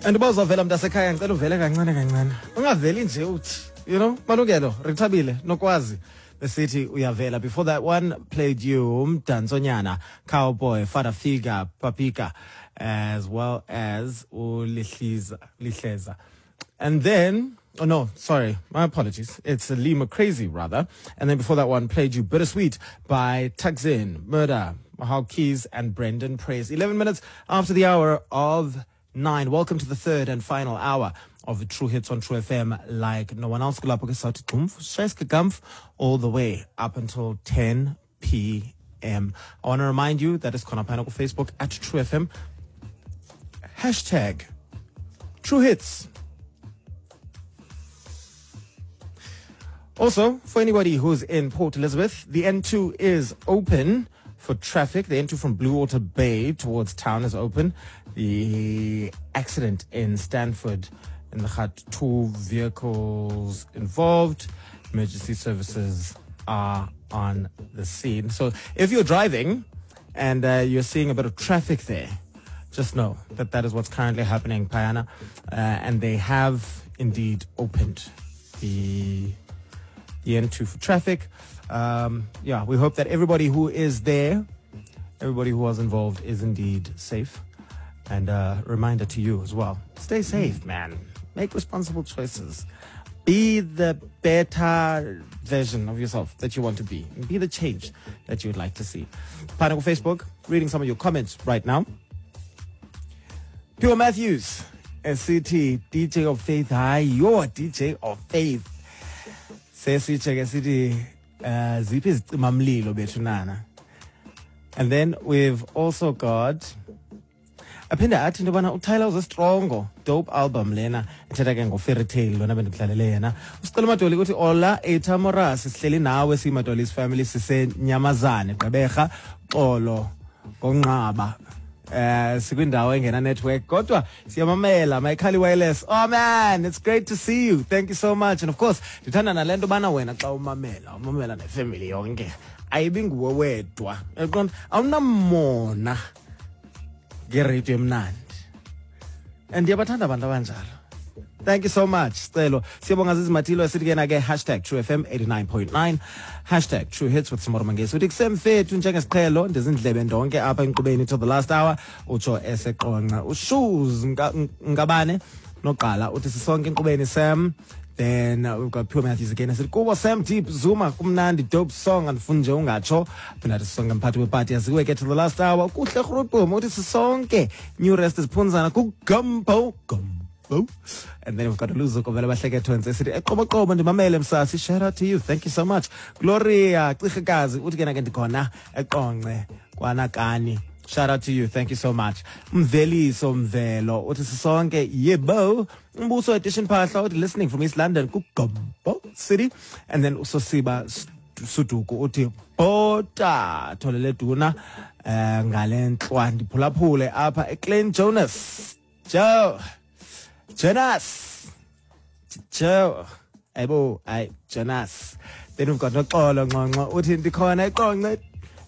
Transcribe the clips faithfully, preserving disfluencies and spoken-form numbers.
And uba uzawuvela mntasekhaya, ngicela uvele kancane kancane, ungaveli nje uthi, you know, Malungelo, Rithabile, Nokwazi besithi uyavela. Before that one played you Mdantsonyana, Cowboy, Father Figure, Papika, as well as Ulihliza, Lihleza. And then, oh no, sorry, my apologies. It's Lee McCrazy, rather. And then before that one, played you Bittersweet by Tuxin, Murder, Mahal Keys, and Brendan Praise. eleven minutes after the hour of nine. Welcome to the third and final hour of the True Hits on True F M, like no one else. All the way up until ten p m. I want to remind you that it's khona phana ku Facebook at True F M. Hashtag True Hits. Also, for anybody who's in Port Elizabeth, the N two is open for traffic. The N two from Bluewater Bay towards town is open. The accident in Stanford in the Khat, two vehicles involved. Emergency services are on the scene. So if you're driving and uh, you're seeing a bit of traffic there, just know that that is what's currently happening, Payana. Uh, and they have indeed opened the, the N two for traffic. Um, yeah, we hope that everybody who is there, everybody who was involved is indeed safe. And a reminder to you as well, stay safe, man. Make responsible choices. Be the better version of yourself that you want to be. Be the change that you would like to see. Pineapple Facebook, reading some of your comments right now. Pure Matthews, S C T, D J of Faith. Hi, you're D J of Faith. Sesiche S C T, ziphi izicimamlilo bethunana. And then we've also got aphinde athi into yobana uTyler uzestrongo, dope album lena ethetha ke ngo-fairy tale lona bendikudlalele yena. Usicela uMadoli ukuthi ola ethamora sihleli nawe siyiMadoli's family sisenyamazane Gqeberha xolo ngonqaba eh sikwindawo engena network kodwa siyamamela Mayikhali Wireless. Oh man, it's great to see you. Thank you so much. And of course ndithanda nale nto bana wena xa umamela umamela nefamily yonke, ayibi nguwe wedwa. Uyaqonda, awunamona ngeradio emnandi. And ndiyabathanda abantu abanjalo. Thank you so much, Sicelo. Siyabonga Zizi Matilo esithi ke na ke hashtag True F M eighty-nine point nine, hashtag True Hits with Samora Mangesi. Uthi kusemfethu njengesiqhelo ndizindlebe ndonke apha enkqubeni till the last hour, utsho eseqonqa. Ushoes Ngabane noqala uthi sisonke enkqubeni Sam. Then uh, we've got Pure Matthews again. I said, Kubo Sam Deep Zuma, kumnandi, dope song, and funje ungacho. Phinda song and party with party as we get to the last hour. Kuhle grootboom, uthi sisonke. New rest is Punzana, kugumbo, gumbo. And then we've got Luzuko vele bahleke twins. Esithi eqoboqobo ndimamele msasi. Shout out to you. Thank you so much. Gloria Cihikazi uthi ke na ke ndikhona eqonce kwanakani. Shout out to you. Thank you so much. Mveliso Mvelo uthi sisonke yebo. Mbuso Edition Phahla uthi listening from East London kuGombo City. And then uSosiba Suduku uthi bota tholele duna eh ngalenhlwa ndiphulaphule apha eClean Jonas. Joe Jonas Joe Ebo ay Jonas. Then we've got Noxolo Nqonqo uthi ndikhona eqonce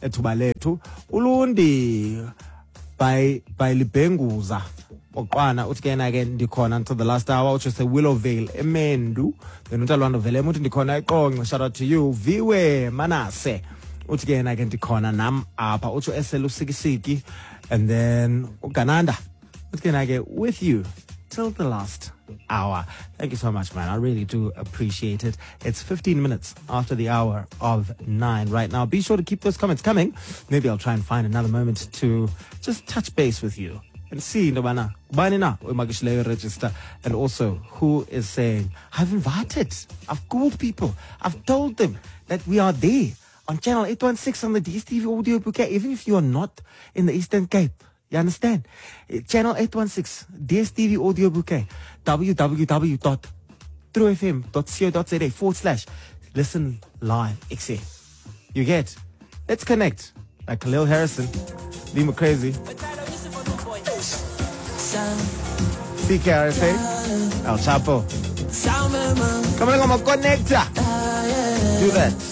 ethuba lethu. Ulundi by by Libhenguza Oqwana uthi ke na ke ndikhona until the last hour, utsho se Willowvale eMendu. Then uNtalwando Velem uthi ndikhona eqonce. Shout out to you. Viwe Manase uthi ke na ke ndikhona nam apha, utsho eselusikisiki. And then uGananda uthi ke na ke with you till the last hour. Thank you so much, man. I really do appreciate it. It's fifteen minutes after the hour of nine right now. Be sure to keep those comments coming. Maybe I'll try and find another moment to just touch base with you and see ndobana ubani na oyimakishileyo register, and also who is saying, I've invited, I've called people, I've told them that we are there on channel eight one six on the D S T V audio bouquet, even if you are not in the Eastern Cape. You understand? Channel eight one six, D S T V audio bouquet, www dot true f m dot co dot za forward slash listen live X A. You get? Let's connect. Like Khalil Harrison, Lee McCrazy, C K R S A, El Chapo. Come on, I'm a connector. Do that.